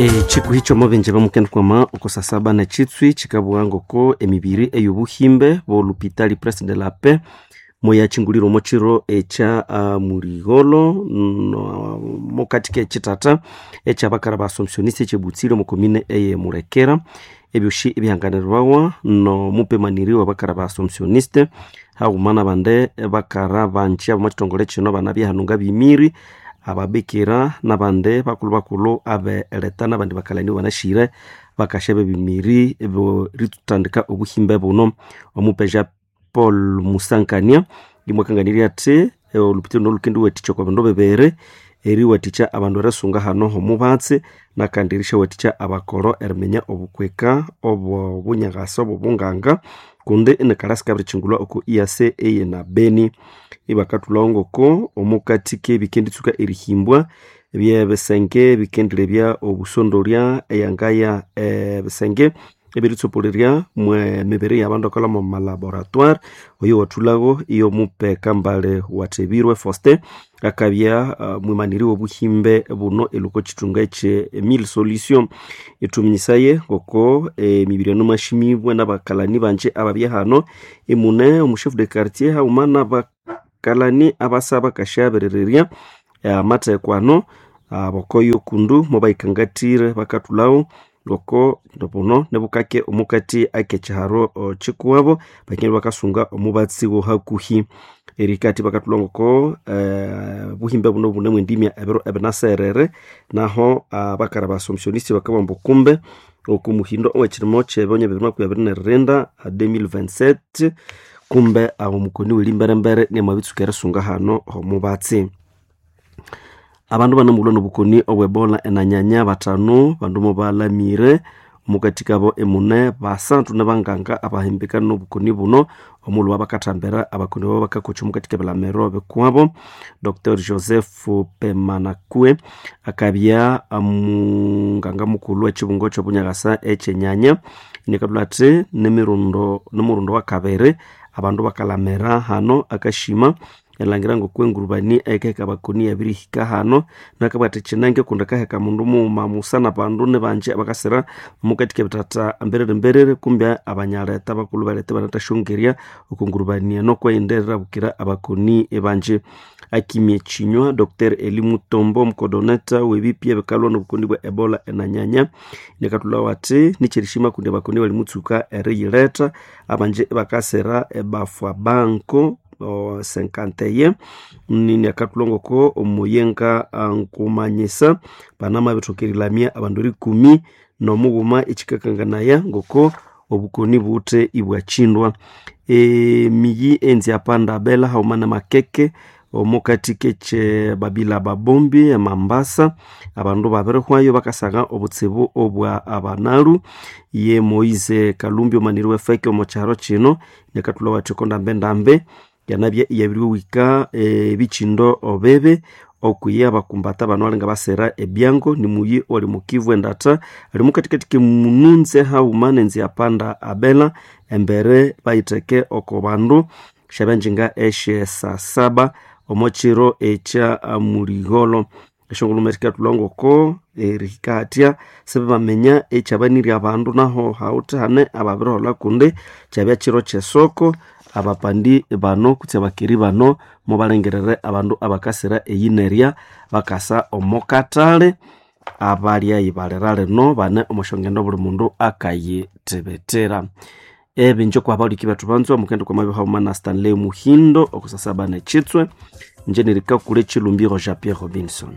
Chikuhi ky'omobenje bamukendikwama okusasaba nechitswi chikabugha ngoko emibiri ey'obuhimbe b'olupitali Prince de la Paix moyachingulire omo chiro ekya muligholo mukati k'ekitata ekyabakara ba Assumptioniste ekyebutsire omu komine eye Mulekera. Ebyosi ebihanganirwawa n'omupemaniri w'abakara ba Assumptioniste haghuma n'abandi bakara banji ab'omu kitongole kino banabya hanu ngabimiri, ababikira n'abandi bakulhu-bakulhu abeletha n'abandi bakalani banashire bakasya b'ebimiri eritandika obuhimbe buno. Omupeja Paul Musankania imwakanganirya athi olupitali luno lukendiwathikya okwa bindu bibiri, eriwathikya abandu erisunga hano h'omubatsi nakandi erisyawathikya abakoro eriminya obukwika obw'obunyakasa obw'obunganga kundi inikalha sikabirikyingulwa oko EAC eye na Beni. Ibakathulhawo ngoko omukati k'ebikenditsuka erihimbwa by'ebisenge ebikendilebya obusondolya eyangaya ebisenge ebiritsopolerya mwe mibiri y'abandu abakalha omo malaboratoire. Oyo wathulhawo iyo Kambale Wathebirwe Faustin akabya mwimaniri w'obuhimbe buno elwa oko kithunga ekye Mille Solutions. Ithuminyisaye ngoko emibiri eno mwashimibwe n'abakalani banji ababya hano imune omu chef de quartier haghuma n'abakalani abasa bakasyabirirerya amatheko ano abokoyo kundu mobayikangathire bakathulhawo ngoko buno nibukake omukati ak'ekiharo kikuwabo bakine bakasunga omubatsi w'ohakuhi. Erikathi bakathulha ngoko buhimbe buno bunemu endimya ebiro ebinaserere naho abakara ba Assumptioniste bakabugha ambu kumbe oku muhindo ow'ekirimo ky'ebinywa 2027 2027 kumbe omukoni w'erimberembere niamabitsuka erisunga hano h'omubatsi. Abandu banamughulwa n'obukoni obw'ebola enanyanya batano bandu mobalamire omukati kabo emune basathu nibanganga abahimbikana n'obukoni buno omulhuba bakathambira abakoni abo bakakokya omukati k'ebilamiro bikuwabo. Dr Joseph Pemanakue akabya munganga mukulhu w'ekibungo ky'obunyakasa ekyenyanya inakathulha athi nimurundi wakabiri abandu bakalamira hano akashima erilhangira ngoko engurubani eyikaheka abakoni yabirihika hano nakabugha athi kyinenge kundi akaheka mundu mughuma musa n'abandu nibanji abakasira omukati k'ebithatha mberere-mberere kumbe abanyaletha abakulhu baletha ibanathasyongerya oko ngurubani eno kweyindi erirabukira abakoni banji. Akimya ekinywa Dr Eli Mutombo omukodoneta w'ebipya ebikalhwa n'obukoni bwa Ebola enanyanya inakathulhawo athi nikyerishima kundi abakoni balimutsuka eriyiletha abanji ibakasira ebafwa banko 51 niniakathulha ngoko omuyenga nkumanyisa banamabithoka erilamya abandu erikumi n'omughuma ekikakanganaya ngoko obukoni buwithe ibwakyindwa. Emiyi enziapanda bela haghuma n'amakeke omukati k'ekye Babila Babombi e Mambasa abandu babirihwayo bakasagha obutsibu obwa abanalu. Ye Moise Kalumbi omaniri w'efeki omo kyaro kino inakathulhawo athi oko ndambe-ndambe yanabya iyabiriwika ebikyindo bibi okwiya abakumbata bano alinga basira ebyango nimuyi owali mukivu endatha ali mukathikathi k'emununze haghuma n'enziapanda abela embere bayitheke oko bandu syabyanjinga esye saa saba omo kiro ekya muligholo. Esyongulhuma sikathulha ngoko erihika hathya sibamaminya ekyabanirye abandu naho hawithe hane ababiriholha kundi kyabya kiro ky'esoko abapandi bano kutse abakeri bano mubalengirire abandu abakasira eyinerya bakasa omo kathali abalya ibalira lino bane omo syongendo buli mundu akayithibitira. Ebinji okwa baliki bethu banzwa mukende kwa mabya haghuma na Stanley Muhindo okusasaba n'ekitswe inje nerikakule Chilumbiro Jean Pierre Robinson.